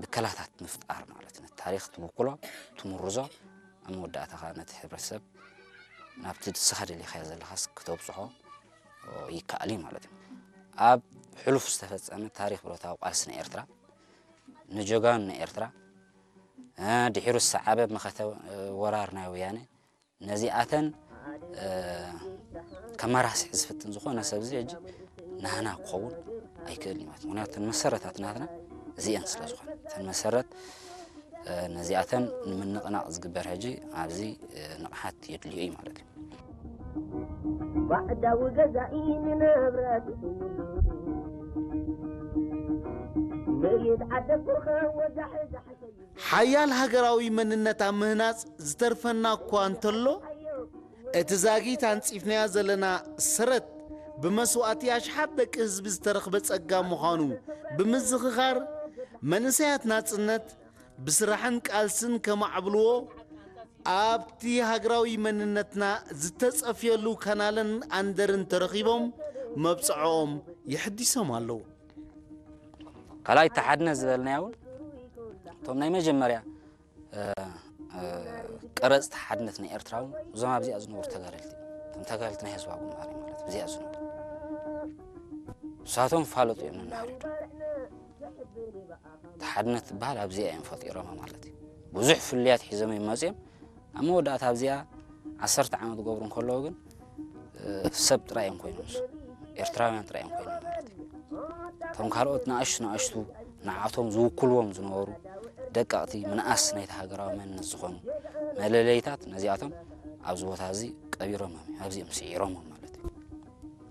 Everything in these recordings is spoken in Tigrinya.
ብከላታት ምፍጣር ማለት እዩ። ነቲ ታሪኽ ትብኩሎ፣ ትምርዞ፣ ኣብ መወዳእታ ኸኣ ነቲ ሕብረተሰብ ናብቲ ንስኻ ደሊኻዮ ዘለኻስ ክተብጽሖ ይከኣል እዩ ማለት እዩ። ኣብ ሕሉፍ ዝተፈጸመ ታሪኽ ብረታዊ ቃልሲ ናይ ኤርትራ፣ ንጀጋኑ ናይ ኤርትራ፣ እ፣ ድሒሩ ዝሰዓበ መኸተ፣ እ፣ ወራር ናይ ወያነ፣ ነዚኣተን፣ እ፣ ከመራስሕ ዝፍትን ዝኾነ ሰብ እዚ ሕጂ ናህና ክኸውን ኣይክእልን እዩ ማለት እዩ። ምኽንያቱ እተን መሰረታት ናትና እዚአን ስለ ዝኾነ፣ እተን መሰረት፣ እ፣ ነዚኣተን ንምንቕናቕ ዝግበር ሕጂ ኣብዚ፣ እ፣ ንቕሓት የድልዮ እዩ ማለት እዩ። ባዕዳዊ ገዛኢ ንንብረት ምይት ዓደኩኸ ወዛሕዛሕ ሓያል ሃገራዊ መንነት ኣብ ምህናጽ ዝተርፈና እኳ እንተሎ፣ እቲ ዛጊት ኣንጺፍናዮ ዘለና ሰረት ብመስዋእቲ ኣሽሓት ደቂ ህዝቢ ዝተረኽበ ጸጋ ምዃኑ ብምዝኽኻር፣ መንእሰያት ናጽነት ብስራሕን ቃልስን ከማዕብልዎ፣ ኣብቲ ሃገራዊ መንነትና ዝተጸፍየሉ ካናልን ኣንደርን ተረኺቦም መብጽዖኦም የሕዲሶም ኣለዉ። ካልኣይ፣ ተሓድነት ዝበልናዮ እውን እቶም ናይ መጀመርያ፣ እ፣ እ፣ ቀረጽቲ ሓድነት ናይ ኤርትራ እውን እዞም ኣብዚኣ ዝነበሩ ተጋደልቲ እዮም። እቶም ተጋደልቲ ናይ ህዝባዊ ግንባር እዮም ማለት ኣብዚኣ ዝነበሩ። ንሳቶም ፋለጡ እዮም ነናህሪዱ። ተሓድነት ትበሃል ኣብዚኣ እዮም ፈጢሮማ ማለት እዩ። ብዙሕ ፍልልያት ሒዞም እዮም መጺኦም። ኣብ መወዳእታ ኣብዚኣ ዓሰርተ ዓመት ክገብሩ እንከለዉ ግን፣ እ፣ ሰብ ጥራይ እዮም ኮይኖም፣ ኤርትራውያን ጥራይ እዮም ኮይኖም ማለት እዩ። እቶም ካልኦት ንኣሽቱ ንኣሽቱ ንዓቶም ዝውክልዎም ዝነበሩ ደቀቕቲ ምንኣስ ናይቲ ሃገራዊ መንነት ዝኾኑ መለለይታት ነዚኣቶም ኣብዚ ቦታ እዚ ቀቢሮም እዮም፣ ኣብዚ እዮም ስዒሮም ማለት እዩ።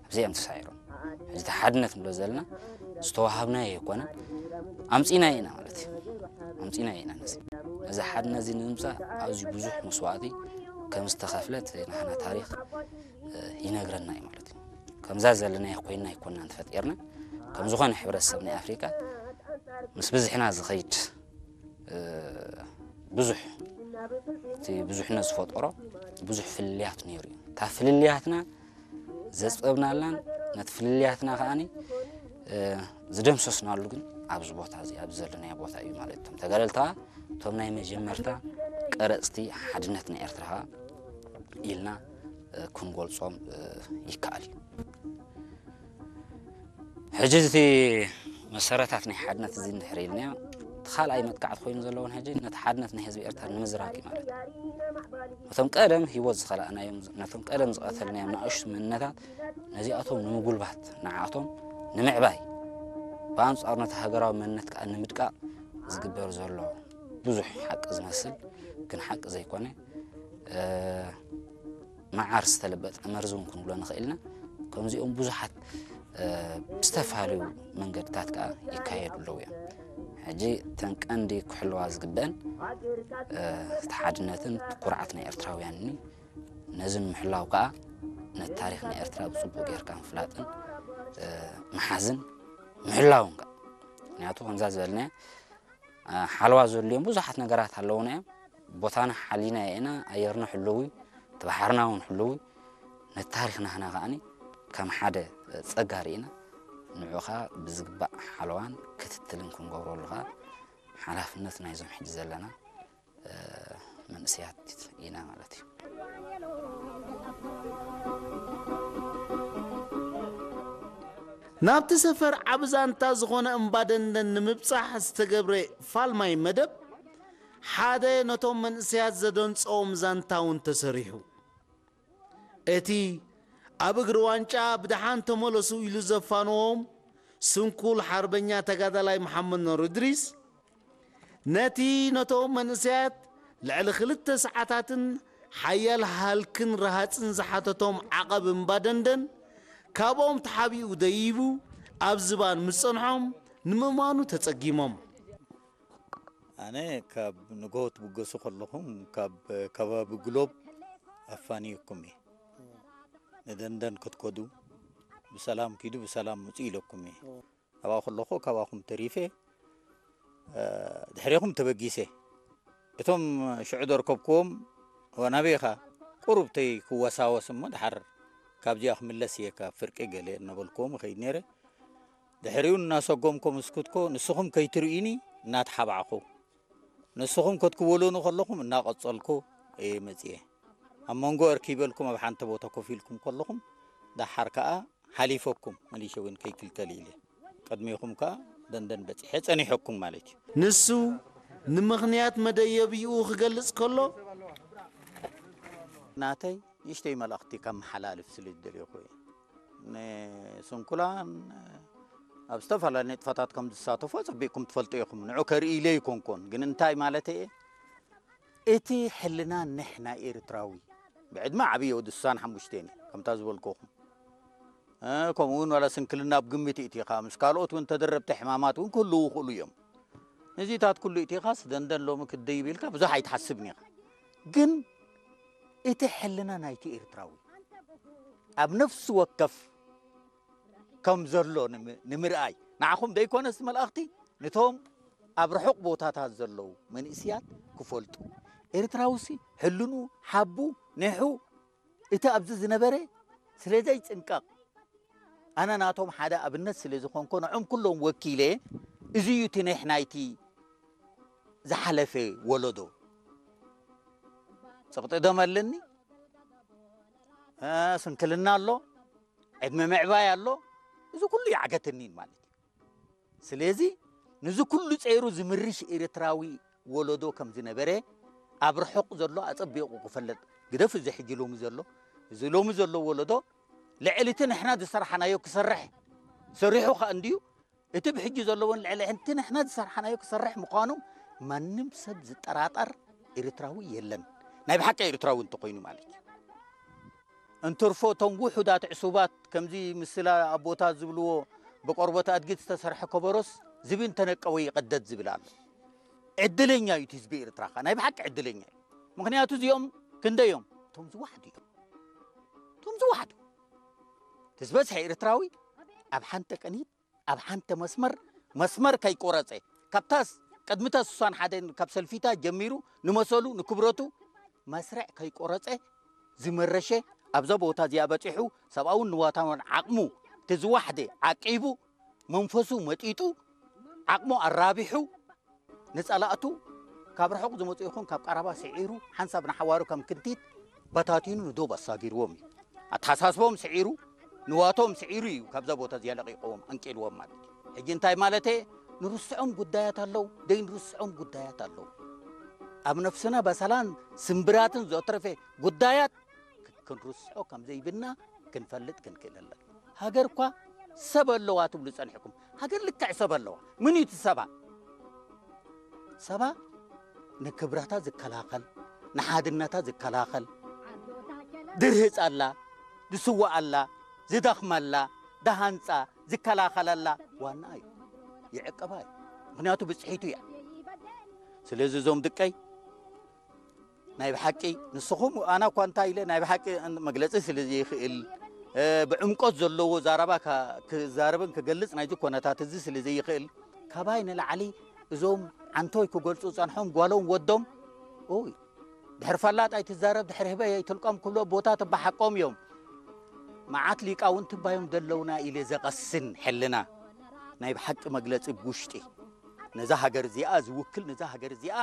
ኣብዚ እዮም ተሳዒሮም። ሕጂ እቲ ሓድነት ንብሎ ዘለና ዝተዋሃብናዮ ኣይኮነን፣ ኣምጺእናዮ ኢና ማለት እዩ። ኣምጺእናዮ ኢና ነዚ። ነዚ ሓድነት እዚ ንምምጻእ ኣዝዩ ብዙሕ መስዋእቲ ከም ዝተኸፍለት ናህና ታሪኽ፣ እ፣ ይነግረና እዩ ማለት እዩ። ከምዛ ዘለናዮ ኮይንና ኣይኮንናን ተፈጢርና። ከም ዝኾነ ሕብረተሰብ ናይ ኣፍሪቃ ምስ ብዝሕና ዝኸይድ፣ እ፣ ብዙሕ፣ እቲ ብዙሕነት ዝፈጠሮ ብዙሕ ፍልልያት ነይሩ እዩ። እታ ፍልልያትና ዘጽበብናላን ነቲ ፍልልያትና ከኣኒ፣ እ፣ ዝደምሰስናሉ ግን ኣብዚ ቦታ እዚ፣ ኣብዚ ዘለናዮ ቦታ እዩ ማለት እዩ። እቶም ተጋደልቲ ከኣ እቶም ናይ መጀመርታ ቀረጽቲ ሓድነት ናይ ኤርትራ ከኣ ኢልና፣ እ፣ ክንገልጾም፣ እ፣ ይከኣል እዩ። ሕጂ እቲ መሰረታት ናይ ሓድነት እዚ እንድሕር ኢልናዮ፣ እቲ ካልኣይ መጥቃዕቲ ኮይኑ ዘለዎን ሕጂ ነቲ ሓድነት ናይ ህዝቢ ኤርትራ ንምዝራግ እዩ ማለት እዩ። ነቶም ቀደም ህይወት ዝኸላእናዮም፣ ነቶም ቀደም ዝቐተልናዮም ንኣሽቱ መንነታት፣ ነዚኣቶም ንምጉልባት፣ ንዓቶም ንምዕባይ፣ ብኣንጻሩ ነቲ ሃገራዊ መንነት ከኣ ንምድቃቕ ዝግበር ዘሎ ብዙሕ ሓቂ ዝመስል ግን ሓቂ ዘይኮነ፣ እ፣ መዓር ዝተለበጠ መርዚ እውን ክንብሎ ንኽእል ኢና። ከምዚኦም ብዙሓት፣ እ፣ ብዝተፈላለዩ መንገድታት ከኣ ይካየዱ ኣለዉ እዮም። ሕጂ እተን ቀንዲ ክሕለዋ ዝግበአን፣ እ፣ እቲ ሓድነትን እቲ ኩርዓት ናይ ኤርትራውያንን እዩ። ነዚ ንምሕላው ከኣ ነቲ ታሪኽ ናይ ኤርትራ ብጽቡቕ ጌርካ ምፍላጥን፣ እ፣ ምሓዝን ምሕላውን ከኣ። ምኽንያቱ ከምዛ ዝበልናዮ፣ እ፣ ሓለዋ ዘድልዮም ብዙሓት ነገራት ኣለዉና እዮም። ቦታና ሓሊና ኢና፣ ኣየርና ሕልው እዩ፣ እቲ ባሕርና እውን ሕልው እዩ። ነቲ ታሪኽና ህና ከኣኒ ከም ሓደ ጸጋ ርኢና፣ ንዑ ኸኣ ብዝግባእ ሓለዋን ክትትልን ክንገብረሉ ኸኣ ሓላፍነት ናይዞም ሕጂ ዘለና፣ እ፣ መንእሰያት ኢና ማለት እዩ። ናብቲ ሰፈር ዓቢ ዛንታ ዝኾነ እምባ ደንደን ንምብጻሕ ዝተገብረ ፋልማይ መደብ፣ ሓደ ነቶም መንእሰያት ዘደንጸዎም ዛንታ እውን ተሰሪሑ። እቲ ኣብ እግሪ ዋንጫ ብደሓን ተመለሱ ኢሉ ዘፋነዎም ስንኩል ሓርበኛ ተጋዳላይ መሓመድ ኑር እድሪስ፣ ነቲ ነቶም መንእሰያት ልዕሊ ክልተ ሰዓታትን ሓያል ሃልክን ረሃጽን ዝሓተቶም ዓቐብ እምባ ደንደን፣ ካብኦም ተሓቢኡ ደይቡ ኣብ ዝባን ምስ ጸንሖም፣ ንምእማኑ ተጸጊሞም። ኣነ ካብ ንግሆ ትብገሱ ከለኹም ካብ ከባቢ ግሎብ ኣፋንየኩም እየ። ንደንደን ክትከዱ ብሰላም ኪዱ ብሰላም ምጹ ኢለኩም እየ። ኣብኣ ከለኹ ካባኹም ተሪፈ፣ እ፣ ድሕሬኹም ተበጊሰ። እቶም ሽዑ ዘርከብክዎም፣ "ዋ፣ ናበይ ኢኻ?" ቁሩብ ተይ ክወሳወስ እሞ ደሓር ካብዚኣ ክምለስ እየ ካብ ፍርቂ ገለ እናበልክዎም እኸይድ ነይረ። ድሕሪኡ እናሰጎምኩም እስኩትኮ ንስኹም ከይትርእዩኒ እናተሓባዕኹ፣ ንስኹም ከትክወሉኒ ከለኹም እናቐጸልኩ እየ መጽየ። ኣብ መንጎ እርኪበልኩም ኣብ ሓንቲ ቦታ ኮፍ ኢልኩም ከለኹም፣ ደሓር ከኣ ሓሊፈኩም፣ መሊሸ እውን ከይክልከል ኢለ። ቅድሜኹም ከኣ ደንደን በጺሐ ጸኒሐኩም ማለት እዩ። ንሱ ንምኽንያት መደየቢኡ ክገልጽ ከሎ፣ ናተይ ንእሽተይ መልእኽቲ ከመሓላልፍ ስለ ዝደለኹ እየ። ንስንኩላን ኣብ ዝተፈላለዩ ንጥፈታት ከም ዝሳተፉ ኣጸቢቕኩም ትፈልጡ ኢኹም። ንዑ ከርኢ ኢለ ኣይኮንኩን፣ ግን እንታይ ማለት እየ? እቲ ሕልና ንሕና ኤርትራዊ፣ ብዕድመ ዓብየ ወዲ ስሳን ሓሙሽተን እየ፣ ከምታ ዝበልኩኹም። እ፣ ከምኡ እውን ዋላ ስንክልና ኣብ ግምት እቲኻ፣ ምስ ካልኦት እውን ተደረብቲ ሕማማት እውን ክህልዉ ይኽእሉ እዮም። ነዚታት ኩሉ እቲኻስ ደንደን ሎሚ ክደይብ ኢልካ ብዙሕ ኣይትሓስብን ኢኻ። ግን እቲ ሕልና ናይቲ ኤርትራዊ ኣብ ነፍሲ ወከፍ ከም ዘሎ ንም-፣ ንምርኣይ፣ ንዓኹም ደይኮነስ መልእኽቲ፣ ነቶም ኣብ ርሑቕ ቦታታት ዘለዉ መንእስያት ክፈልጡ። ኤርትራውሲ ሕልኑ፣ ሓቡ፣ ኒሑ፣ እቲ ኣብዚ ዝነበረ ስለ ዘይጽንቀቕ፣ ኣነ ናቶም ሓደ ኣብነት ስለ ዝኾንኩ፣ ንዖም ኩሎም ወኪለ፣ እዚ እዩ እቲ ኒሕ ናይቲ ዝሓለፈ ወለዶ። ጽቕጢ ደም ኣለኒ፣ እ፣ ስንክልና ኣሎ፣ ዕድመ ምዕባይ ኣሎ፣ እዚ ኩሉ ይዓገተኒ ማለት እዩ። ስለዚ፣ ነዚ ኩሉ ጸይሩ ዝምርሽ ኤርትራዊ ወለዶ ከም ዝነበረ ኣብ ርሑቕ ዘሎ ኣጸቢቑ ክፈለጥ። ግደፍ እዚ ሕጂ ሎሚ ዘሎ፣ እዚ ሎሚ ዘሎ ወለዶ ልዕሊ እቲ ንሕና ዝሰርሓናዮ ክሰርሕ ሰሪሑ ከኣ እንድዩ፣ እቲ ብሕጂ ዘለዎን ልዕሊ እቲ ንሕና ዝሰርሓናዮ ክሰርሕ ምዃኑ ማንም ሰብ ዝጠራጠር ኤርትራዊ የለን። ናይ ብሓቂ ኤርትራዊ እንተኾይኑ ማለት እዩ። እንትርፎ እቶም ውሑዳት ዕሱባት ከምዚ ምስላ ኣቦታት ዝብልዎ ብቆርበት ኣድጊ ዝተሰርሐ ከበሮስ ዝቢ እንተነቀወ ይቐደድ ዝብል ኣሎ። ዕድለኛ እዩ እቲ ህዝቢ ኤርትራ ኸኣ፣ ናይ ብሓቂ ዕድለኛ እዩ። ምኽንያቱ እዚኦም ክንደይ እዮም? እቶም ዝወሓዱ እዮም። እቶም ዝወሓዱ። እቲ ዝበዝሐ ኤርትራዊ ኣብ ሓንቲ ቅኒት፣ ኣብ ሓንቲ መስመር፣ መስመር ከይቆረጸ፣ ካብታስ ቅድሚታ ስሳን ሓደን ካብ ሰልፊታ ጀሚሩ ንመሰሉ፣ ንክብረቱ መስርዕ ከይቆረጸ ዝመረሸ፣ ኣብዛ ቦታ እዚኣ በጺሑ፣ ሰብኣውን ንዋታውን ዓቕሙ፣ እቲ ዝወሓደ ዓቂቡ፣ መንፈሱ መጢጡ፣ ዓቕሙ ኣራቢሑ፣ ንጸላእቱ ካብ ርሑቕ ዝመጹ ይኹን ካብ ቀረባ ስዒሩ፣ ሓንሳብ ንሓዋሩ ከም ክንቲት በታቲኑ ንዶብ ኣሳጊርዎም እዩ። ኣተሓሳስቦም ስዒሩ፣ ንዋቶም ስዒሩ እዩ ካብዛ ቦታ እዚኣ ለቒቕዎም፣ ኣንቂልዎም ማለት እዩ። ሕጂ እንታይ ማለት እየ? ንርስዖም ጉዳያት ኣለዉ፣ ደይ ንርስዖም ጉዳያት ኣለዉ። ኣብ ነፍስና በሰላን ስምብራትን ዘትረፈ ጉዳያት ክንርስዖ ከም ዘይብልና ክንፈልጥ ክንክእል ኣለና። ሃገር እኳ ሰብ ኣለዋ ትብሉ ጸኒሕኩም። ሃገር ልክዕ ሰብ ኣለዋ። ምን እዩ እቲ ሰባ? ሰባ ንክብረታ ዝከላኸል፣ ንሓድነታ ዝከላኸል፣ ድርህጸላ፣ ዝስወኣላ፣ ዝደኽመላ፣ ዝሃንጻ፣ ዝከላኸለላ ዋና እዩ። ይዕቀባ እዩ። ምኽንያቱ ብጽሒቱ እያ። ስለዚ እዞም ድቀይ ናይ ብሓቂ ንስኹም፣ ኣነ እኳ እንታይ ኢለ ናይ ብሓቂ መግለጺ ስለ ዘይኽእል፣ እ፣ ብዕምቆት ዘለዎ ዛረባ ካ-፣ ክዛረብን ክገልጽ ናይዚ ኮነታት እዚ ስለ ዘይኽእል፣ ካባይ ንላዕሊ እዞም ዓንቶይ ክገልጹ ጸንሖም ጓሎም ወዶም፣ ኦይ፣ ድሕሪ ፈላጥ ኣይትዛረብ፣ ድሕሪ ህበይ ኣይትልቀም ክብሎ ኣቦታት እባ ሓቆም እዮም። መዓት ሊቃውንቲ እባ እዮም ዘለውና ኢለ ዘቐስን ሕልና ናይ ብሓቂ መግለጺ ብውሽጢ ነዛ ሃገር እዚኣ ዝውክል፣ ነዛ ሃገር እዚኣ